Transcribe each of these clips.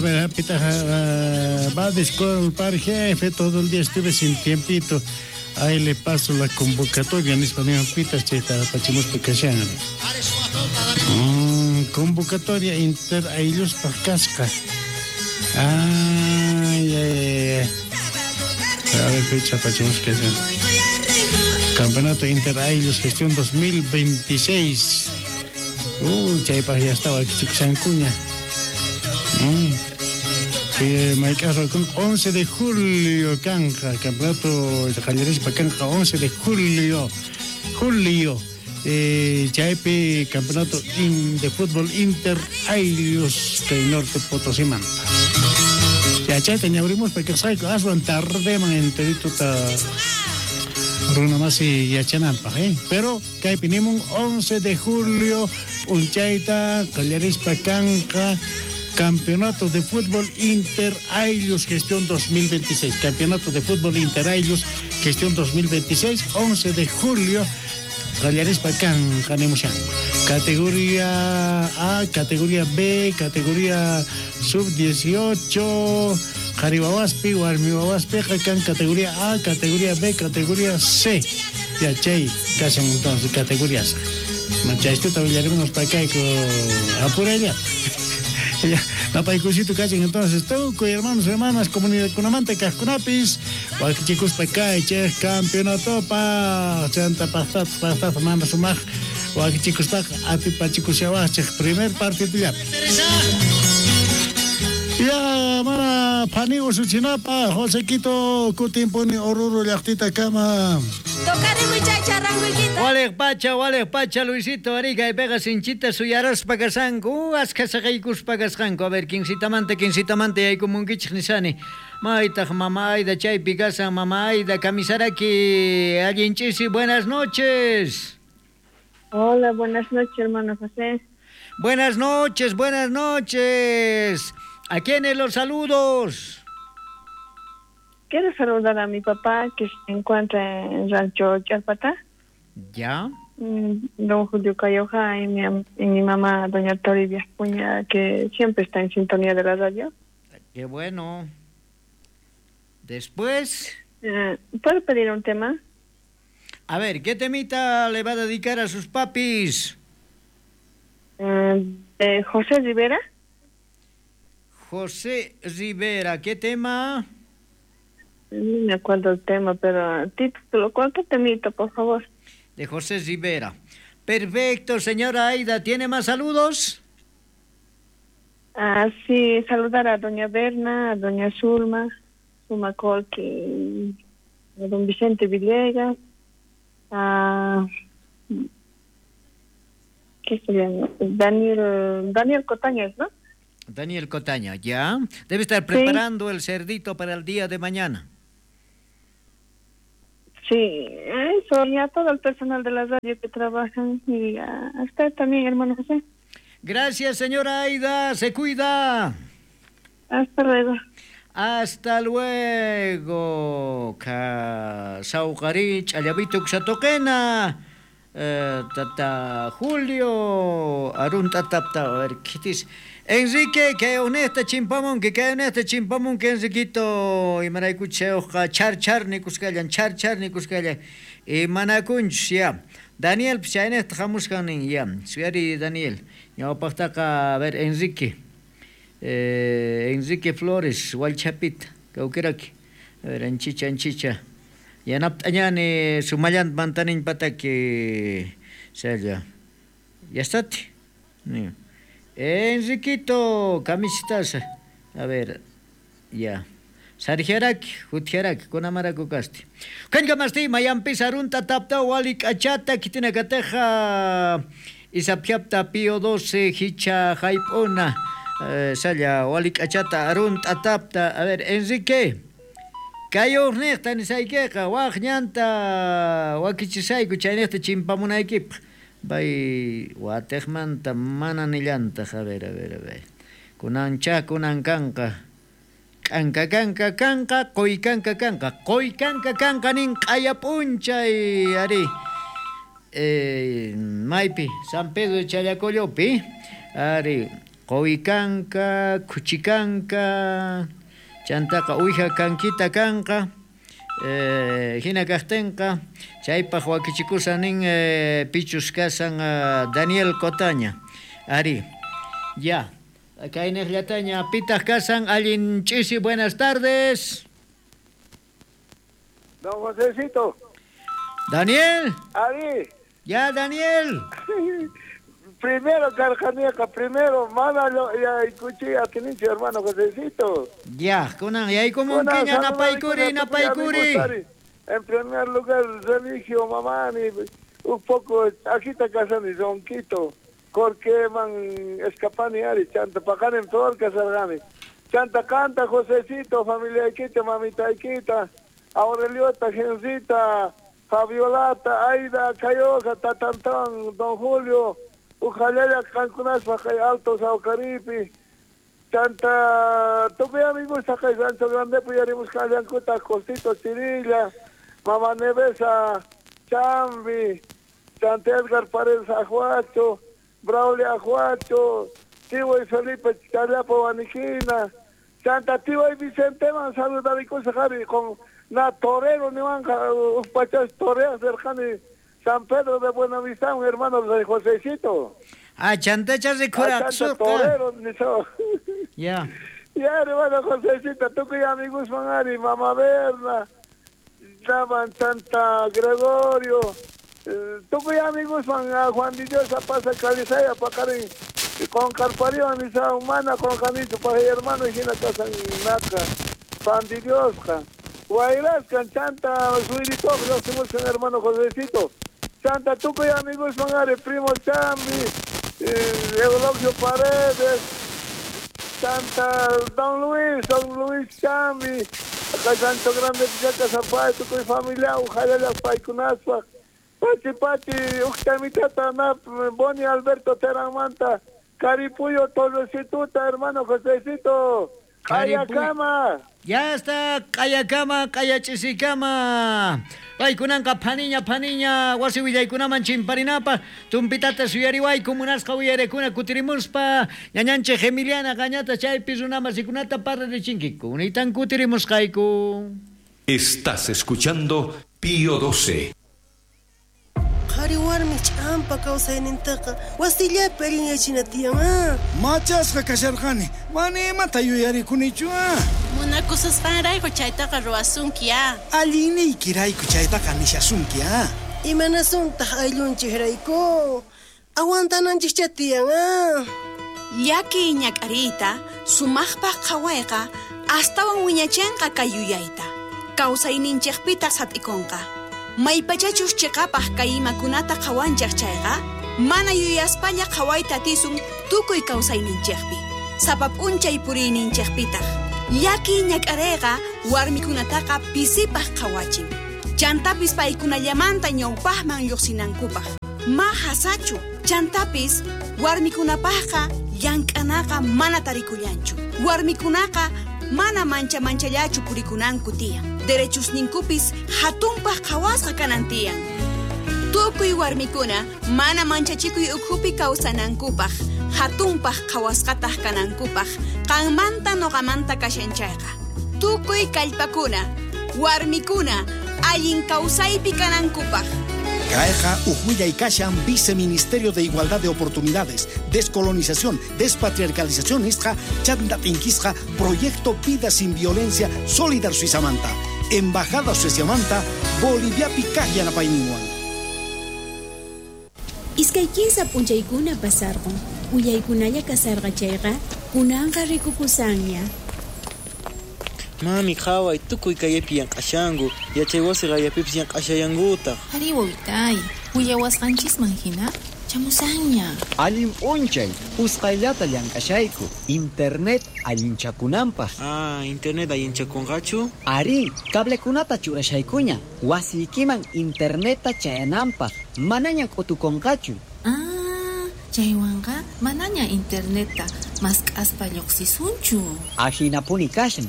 A ver, va a disculpar, jefe, todo el día estuve sin tiempito. Ahí le paso la convocatoria, nispa pita chayta apachimuspa kashan. Convocatoria inter aylluspaj kasqa. Ay, ay, ay. A ver, fecha apachimuspa kashan. Campeonato Inter Ayllus Gestión 2026. Chaypaj ya estaba kichikushankuña. Mayk'aj 11 de julio kanqa, campeonato qallarispa kanqa 11 de julio. Julio. Chaypi campeonato de fútbol Inter Ayllus kay Norte Potosimanta. Ya chayta ñawrimuspa kasqayku aswan tardeman enterituta runa masi yachananpaj, ¿eh? Pero kaypi nimun 11 de julio p'unchayta qallarispa kanqa Campeonato de Fútbol Inter Ayllus Gestión 2026. Campeonato de Fútbol Inter Ayllus Gestión 2026, 11 de julio. Qallarispa kanqa nimushan. Categoría A, categoría B, categoría sub-18, qhari wawaspi, warmi wawaspiqa kan categoría A, categoría B, categoría C. Ya chay kashan entonces categorías. Machaystuta willarimunos pakayku apuralla. Ya, napaykusito kachin entonces tukuy hermanos, hermanas, comunidadkunamanta kajkunapis wakichikuspa kaychej campeonatopa chanta pajtata pajtata mana sumaj wakichikuspaqa atipachikushawajchej primer partidollapi. Ya mana phani usuchinapa Josequito kutimpuni Oruro llaqtita kama. Tocaremos chay charranguiquita. Walej pacha, Luisito Arica y pega sinchita suyaraspa kasanku, aska saqaykuspa kasqanku. A ver, quinsitamanta, quinsitamanta yaykumunkichej nisani. Maytaj mama Aida chaypi kasan, mama Aida, kamisaraki, allinchisi, buenas noches. Hola, buenas noches, hermano José. Buenas noches, buenas noches. ¿A quiénes los saludos? Quiero saludar a mi papá que se encuentra en Rancho Chalpatá. Ya. Don Julio Cayoja y mi mamá, doña Toribia Cuña, que siempre está en sintonía de la radio. Qué bueno. Después. ¿Puedo pedir un tema? A ver, ¿qué temita le va a dedicar a sus papis? De José Rivera. José Rivera, ¿qué tema? No me acuerdo el tema, pero título, ¿cuánto temito, por favor? De José Rivera. Perfecto, señora Aida, ¿tiene más saludos? Ah, sí, saludar a doña Berna, a doña Zulma, Zulma Colque, a don Vicente Villegas, a... ¿qué sería? Daniel Cotañez, ¿no? Daniel Cotaña, ya. Debe estar preparando el cerdito para el día de mañana. Sí, eso, y a todo el personal de la radio que trabajan y a usted también, hermano José. Gracias, señora Aida, se cuida. Hasta luego. Hasta luego. Sauqari, ch'allavito ksatoqena. Tata Julio, Arun tatapta, a ver, ¿qué dice? Enrique, que honesta chimpamun, que honesta chimpamun, que Enriquito, y maraykucheoja, char char nikuskallan, char char nikuskallan, y manakunch, ya. Daniel, chaynesta hamusqanin, ya. Suyari Daniel, ñawpaqtaqa, a ver, Enrique, Enrique Flores, Walchapita, kawkiraki, a ver, anchicha, anchicha. Yanaptañani sumallant mantanin pataki salla. Ya está. Enriquito, camisitas. A ver, ya. Sargiaraki, jutjiaraki, kunamaraku kasti. Kankamasti, mayampi sarunta tapta walik achata kitinakateja. Isapjapta pío 12 hicha jaipona. Salla walik achata arunta tapta. A ver, Enrique. Kayuqniqta nisaykiqa waq ñanta wakichisayku chaynejta chimpamunaykipaq. Bay watejmanta mana nillantaq. A ver, a ver, a ver. Kunancha kunan kanqa. K'anka kanka kanqa, qoy kanka kanqa. Qoy kanka kanqa nin q'aya p'unchay ari. Maypi, San Pedro de Challacollopi. Ari, Qowi kanka, khuchi kanka, chantaqa uwija kankita kanqa. Hina kaqtinqa chaypaq wakichikusan nin pichus kasan Daniel Cotaña. Ari, ya. Kayniqllataña pitaq kasan allin ch'isi, buenas tardes. Don Josecito. Daniel. Ari. Ya, Daniel. Primero, Carjanieja, primero, mana ya escuché a Tenicio, hermano Josecito. Ya, kunan, y ahí como un quiña, napaikuri, napaikuri. En primer lugar, Remigio, Mamani, un poco, aquí está casando, Zonquito, Jorge, man, Escapani, Ari, Chanta, Pacanem, todo el Casargani. Chanta, canta, Josecito, familia Iquita, mamita Iquita, Aureliota, Gencita, Fabiolata, Aida, Cayoja, Tatantán, Don Julio, Ujalaya, Cancunas, Bajay, Alto, Saucaripi, Chanta, tuve amigos, Sacay, Rancho Grande, Puyarimus, Callancuta, Costito, Chirilla, Mamá Nevesa, Chambi, Chanta Edgar Paredes, Ajuacho, Braulio Ajuacho, Tibo y Felipe, Chalapo, Baniquina, Chanta, Tibo y Vicente, man, saludar y cosas, Javi, con na torero, ni van, Uspachas, toreas, cercani, San Pedro de Buenavista, un hermano de Josecito. Ah, chantacha de torero, ni so. Ya. Ya, hermano Josecito, tú que amigos Manari, Mamá Berna, Daban Santa Gregorio, tú que amigos man, Juan de Dios, pasa Calizaya, Pacarín, con Carpario, ni sa humana, con Janito, para hermano, y Gina Casa Naca, Juan de Dios, Guayras, Chanta, Suirito, los hermano Josecito. Chanta, Tuco y amigos Mangare, primo Chambi, Eulogio Paredes, Chanta, Don Luis Chambi, acá Santo Grande, Pichaca, Zapay, Tuco y familia, Ujayala, Paicunaspa, Pachi Pachi, Uctamitata, Nap, Boni Alberto Teramanta, Caripuyo, Tolosituta, hermano Josecito. Kayakama. Ya está, Kayakama, Kayachisikama. Paykunanqa phaniña phaniña wasi willaykunaman chimparinapaq tumpitata suyariwayku munasqa uyarekuna kutirimuspa ñañanchik Emiliana qañata chaypi runamasikunata parlarichinkiku unitan kutirimusqayku. Estás escuchando Pío 12. Qhari warmi ch'ampa kawsaynintaqa wasillapi allinyachina tiyan, ah. Machasqa kasharqani, mana imata yuyarikunichu, ah. Munakususqanrayku chaytaqa ruwasunki, ah. Allinniykirayku chaytaqa nishasunki, ah. Imanasuntaq ayllunchikrayku, aguantananchikcha tiyan, ah. Llaki ñak'ariyta sumaqpaq qhawayqa astawan wiñachinqa kay yuyayta, kawsayninchikpitaq sat'ikunqa. Maypachachus chiqapaq kay imakunata qhawanchik chayqa, mana yuyaspalla qhawayta atisun tukuy kawsayninchikpi, sapa p'unchay puriyninchikpitaq. Llaki ñak'arayqa warmikunataqa pisipaq qhawachin. Chantapis paykunallamanta ñawpaqman lluqsinankupaq. Ma hasachu, chantapis warmikunapaqqa llank'anaqa mana tarikullanchu. Warmikunaqa mana mancha manchallachu purikunanku tiyan. Derechusninkupis hatunpaq qhawasqa kanan tiyan. Tukuy warmikuna mana manchachikuy ukhupi kawsanankupaq, hatunpaq qhawasqataq kanankupaq, qanmanta noqamanta kashan chayqa. Tukuy kallpakuna, warmikuna, allin kawsaypi kanankupaq. Caeja, Ujuya y Kashan, Viceministerio de Igualdad de Oportunidades, Descolonización, Despatriarcalización, Isja, Chanda Tinquisja, Proyecto Vida Sin Violencia, Solidar Suizamanta, Embajada Suizamanta, Bolivia Picaya Napainiwan. Iskay kinsa p'unchaykuna pasarqun, willaykunalla kasarqa chayqa, kunanqa rikukusanña. Mami, qhaway, tukuy kayapi llank'ashanku, yachay wasi qayapipis llank'ashallankutaq. Ari wawitay, willawasqanchisman hina chamusanña. Allin p'unchay, usqhayllata llank'ashayku, internet allinchakunanpaq. Ah, internet allinchakunqachu? Ari, cablekunata churashaykuña, wasiykiman internetta chayananpaq, manaña k'utukunqachu. Ah, chaywanqa manaña internetta mask'aspa lluqsisunchu. Ahinapuni kashan.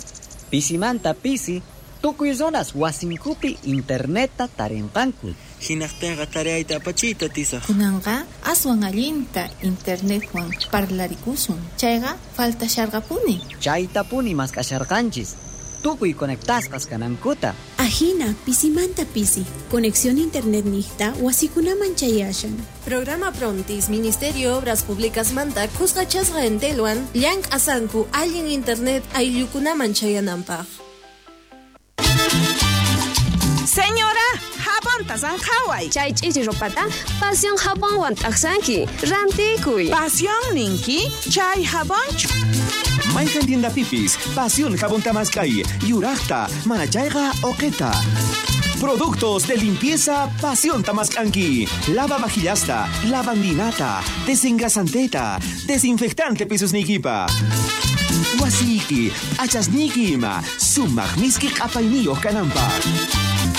Pisimanta pisi, tukuy zonas wasinkupi internetta tarinqanku. Hinaqtinqa tareayta apachiyta atisaq. Kunanqa aswan allinta internetwan parlarikusun. Chayqa faltasharqapuni. Chaytapuni mask'asharqanchis. Tukuy conectasqas kanankuta. Ajina, pisimanta pisi. Conexión internet niqta wasikunaman chayashan. Programa Prontis, Ministerio Obras Públicas manta kusqachasqa entelwan llank'asanku allin internet ayllukunaman chayananpaq. Señora, jabonta sanjaway. Chay ch'ichi ropata Pasión jabonwan t'aqsanki. Rantikuy. Pasión ninki, chay jabonchu. Mayqan tiendapipis, Pasión jabón tamaskay, yuraqta, manachayqa oqeta. Productos de limpieza Pasión Tamaskanki. Lava vajillasta, lavandinata, desengrasanteta, desinfectante pisusniykipa. Wasiyki, p'achasniyki ima, sumaq miski q'apayniyuq kananpaq.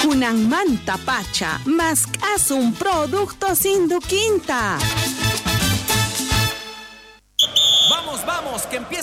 Kunanmanta pacha, mask'asun productos Induquinta. Vamos, vamos, que empieza la